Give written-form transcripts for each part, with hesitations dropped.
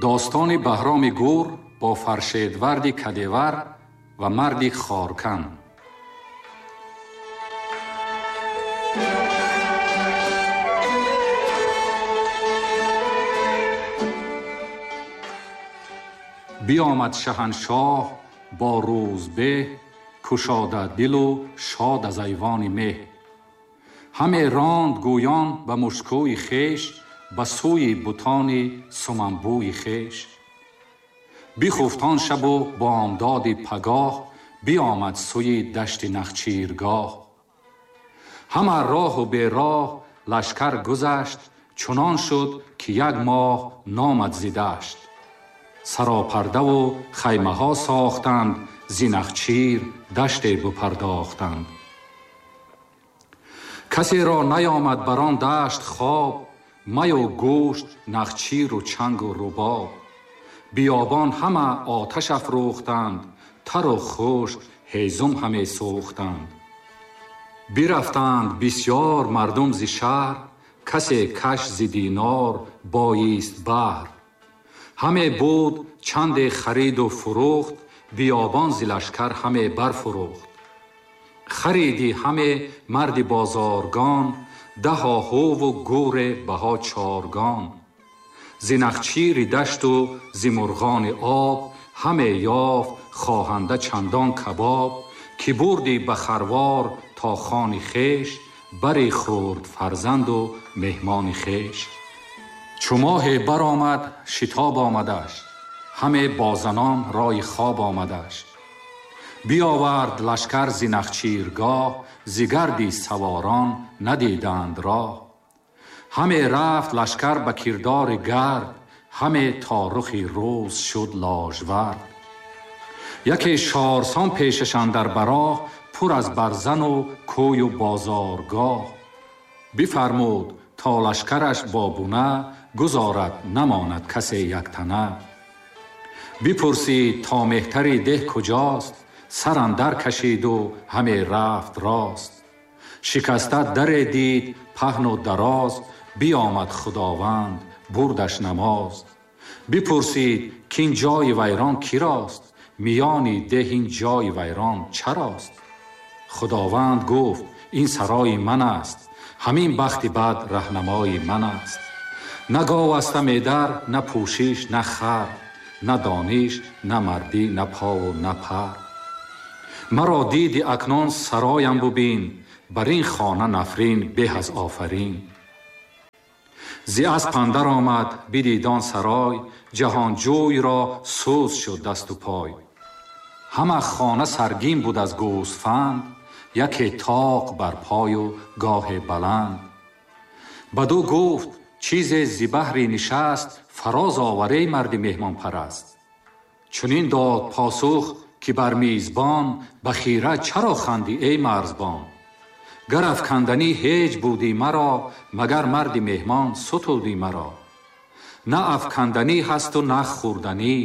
Достони Баҳроми Гур бо Фаршедварди Кадевар ва марди Хоркан. Биомад шаҳаншоҳ бо рӯзбеҳ, кушода дилу шод аз айвони меҳ. Ҳаме ронд гӯён ба мушкӯи хеш, ба сӯи бутони суманбӯи хеш. Бихуфт он шабу бомдоди пагоҳ, биомад сӯи дашти Нахчиргоҳ. Ҳама роҳу бероҳ лашкар гузашт, чунон шуд, ки як моҳ номад зи дашт. Саропардаву хаймаҳо сохтанд, зи Нахчир даште бупардохтанд. Касеро наёмад бар он дашт хоб, маю гӯшт, нахчиру чангу рубоб. Биёбон ҳама оташ афрӯхтанд, тару хушк ҳезум ҳаме сӯхтанд. Бирафтанд бисёр мардум зи шаҳр, касе каш зи динор боист баҳр. Ҳаме буд чанде хариду фурӯхт, биёбон зи лашкар ҳаме барфурӯхт. Хариди ҳаме марди бозоргон, даҳо ҳуву гӯре баҳо чоргон. Зи нахчири дашту зи мурғони об, ҳаме ёфт хоҳанда чандон кабоб, ки бурди ба харвор то хони хеш, бари хурд фарзанду меҳмони хеш. Чу моҳе баромад шитоб омадаш, ҳаме бо занон рои хоб омадаш. Биовард лашкар зи Нахчиргоҳ, зи гарди саворон надиданд роҳ. Ҳаме рафт лашкар ба кирдори гард, ҳаме то рухи рӯз шуд ложвард. Яке шорсон пешаш андар бароҳ, пур аз барзану кӯю бозоргоҳ. Бифармуд то лашкараш бо буна, гузорад намонад касе яктана. Бипурсид то меҳтари деҳ куҷост, сар андар кашиду ҳаме рафт рост. Шикаста даре дид паҳну дароз, биомад Худованд бурдаш намоз. Бипурсид кин ҷои вайрон кирост, миёни деҳ ин ҷои вайрон чарост? Худованд гуфт ин сарои ман аст, ҳамин бахти бад раҳнамои ман аст. На гов аста медар, на пӯшиш, на хар, на дониш, на мардӣ, на пову на пар. Маро диди акнун сароям бубин, бар ин хона нафрин беҳ аз офарин. Зи асп андар омад бидид он сарой, ҷаҳонҷӯйро сӯз шуд дасту пой. Ҳама хона саргин буд аз гӯсфанд, яке тоқ бар пою гоҳе баланд. Баду гуфт чизе зи баҳри нишаст, фароз оварей марди меҳмонпараст. Чунин дод посух ки бар мизбон, ба хира чаро хандӣ эй марзбон? Гар афканданӣ ҳеҷ будӣ маро, магар марди меҳмон сутудӣ маро. На афканданӣ ҳасту на хӯрданӣ,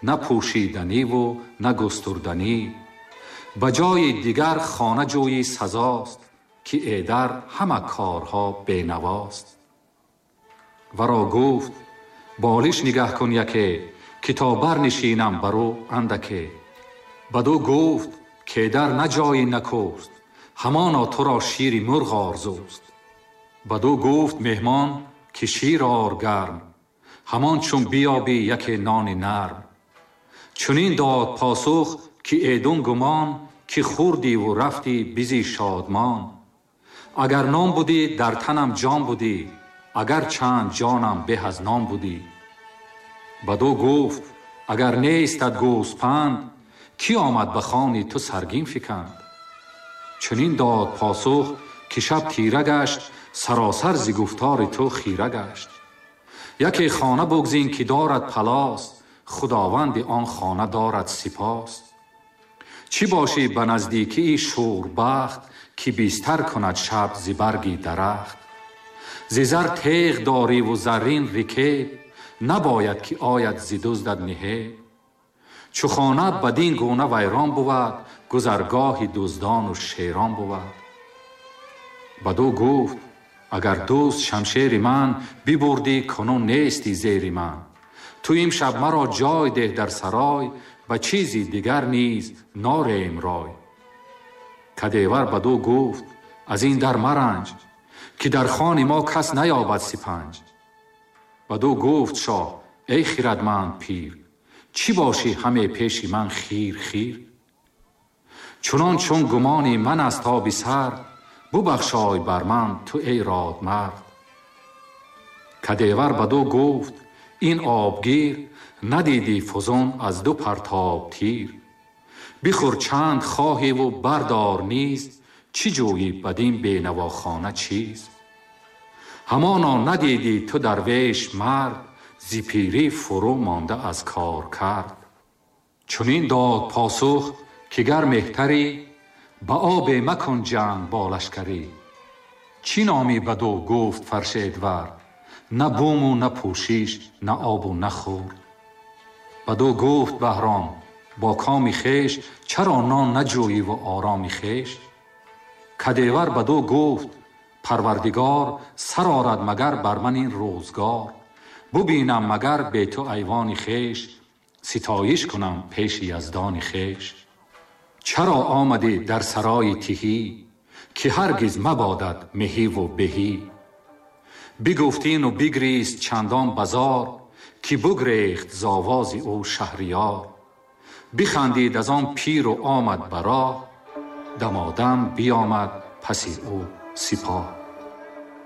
на пӯшиданиву на густурданӣ. Ба ҷои дигар хона ҷӯйи сазост, ки эдар ҳама корҳо бенавост. Варо гуфт болиш нигаҳ кун яке, ки то барнишинам бар ӯ андаке. Баду гуфт кедар на ҷои накӯст, ҳамоно туро шири мурғ орзуст. Баду гуфт меҳмон ки шир ор гарм, ҳамон чун биёбӣ яке нони нарм. Чунин дод посух ки эдун гумон, ки хӯрдиву рафтӣ бизи шодмон. Агар нон будӣ дар танам ҷон будӣ, агар чанд ҷонам беҳ аз нон будӣ. Баду гуфт агар нестад гӯспанд, кӣ омад ба хони ту саргин фиканд? Чунин дод посух ки шаб тира гашт, саросар зи гуфтори ту хира гашт. Яке хона бугзин ки дорад палос, худованди он хона дорад сипос. Чӣ бошӣ ба наздикии шӯрбахт, ки бистар кунад шаб зи барги дарахт? Зи зар теғ дориву заррин рикеб, набояд ки ояд зи дуздат ниҳеб. Чу хона бадин гуна вайрон бувад, гузаргоҳи дуздону шерон бувад. Баду гуфт агар дӯст шамшери ман, бибурдӣ кунун нестӣ зери ман. Ту имшаб маро ҷой деҳ дар сарой, ба чизи дигар низ норем рой. Кадевар бадӯ гуфт аз ин дар маранҷ, ки дар хони мо кас наёбад сипанҷ. Бадӯ гуфт шоҳ эй хирадманд пир, чӣ бошӣ ҳаме пеши ман хир хир? Чунон чун гумони ман аст оби сард, бубахшой бар ман ту эй родмард. Кадевар бадӯ гуфт ин обгир, надидӣ фузун аз ду партоб тир. Бихӯр чанд хоҳиву бардор низ, чӣ ҷӯйӣ бадин бенавохона чиз? Ҳамоно надидӣ ту дарвеш мард, зи пирӣ фурӯ монда аз кор кард. Чунин дод посух ки гар меҳтарӣ, ба обе макун ҷанг бо лашкарӣ. Чӣ номӣ бадӯ гуфт Фаршедвар, на буму на пӯшиш, на обу на хӯр. Бадӯ гуфт Баҳром бо коми хеш, чаро нон наҷӯйиву ороми хеш? Кадевар бадӯ гуфт парвардигор, сар орад магар бар ман ин рӯзгор. Бубинам магар бе ту айвони хеш, ситоиш кунам пеши яздони хеш. Чаро омадӣ дар сарои тиҳӣ, ки ҳаргиз мабодат меҳиву беҳӣ? Бигуфт ину бигрист чандон базор, ки бугрехт з овози ӯ шаҳриёр. Бихандид аз он пиру омад ба роҳ, дамодам биёмад паси ӯ сипоҳ.